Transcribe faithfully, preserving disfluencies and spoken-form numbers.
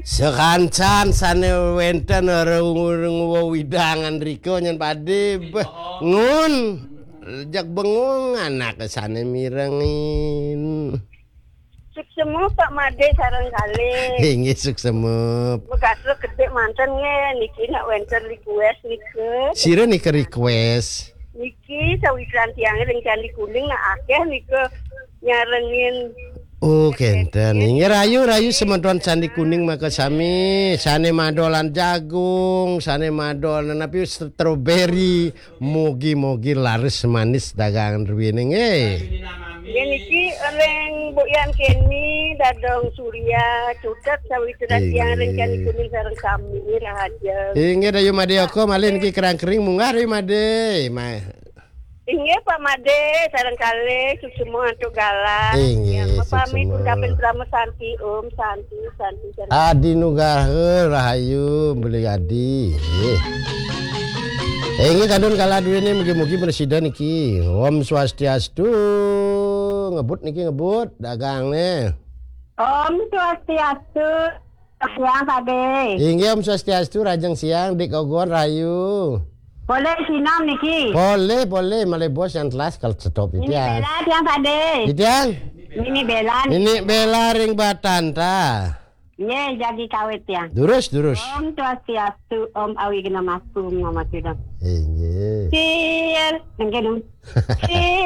Sekancan sane wenten reng wewidangan rika nyen pade bengun. Jak bengung anake sane mirengin. Suksema Pak Made sareng kalih. Inggih suksema. Megasrek gedhe manten nggih niki nak wenten request nika. Sira nika request. Niki sawitran tiang ring Candi Kuning nak akeh nika nyarengin. Oh, kenten. Inggih rayu, rayu semeton Candi Kuning maka sami, sane madolan jagung, sane madolan napi, strawberry, mugi-mugi laris manis dagangan ruwine nggih. Nggih niki ring Mbok Yan Keni, Dadong Surya, Cutet sawitran tiang ring Candi Kuning sareng sami rahaja. Inggih rayu Made Oko malih niki kerang kering munggah rayu Made. Ma- Inggih Pak Made sareng kalih suksema antuk galah. Inggih, ya, mapamit suksema. Ucapin selamat santi, Om, santi, santi, santi. Adi Nugraha rahayu beli adi. Inggih. Inggih kadun kala duwene mugi-mugi presida niki. Om Swastiastu. Ngebut niki ngebut dagangne. Om Swastiastu. Siang Pade. Inggih Om Swastiastu, rajeng siang Dik Ogon rahayu. Boleh sinam niki. Boleh, boleh, malih bos yang telas kalau stop. Ini ya. Bela tiang Pade. Tiang. Ini Bela nih. Ini Bela ring Batanta. Nggih, jagi kawit tiang. Durus, durus. Om Swastiastu, Om Awighnamastu, Om Namo Sidam. Inggih. Sir, nggih dong. Sir.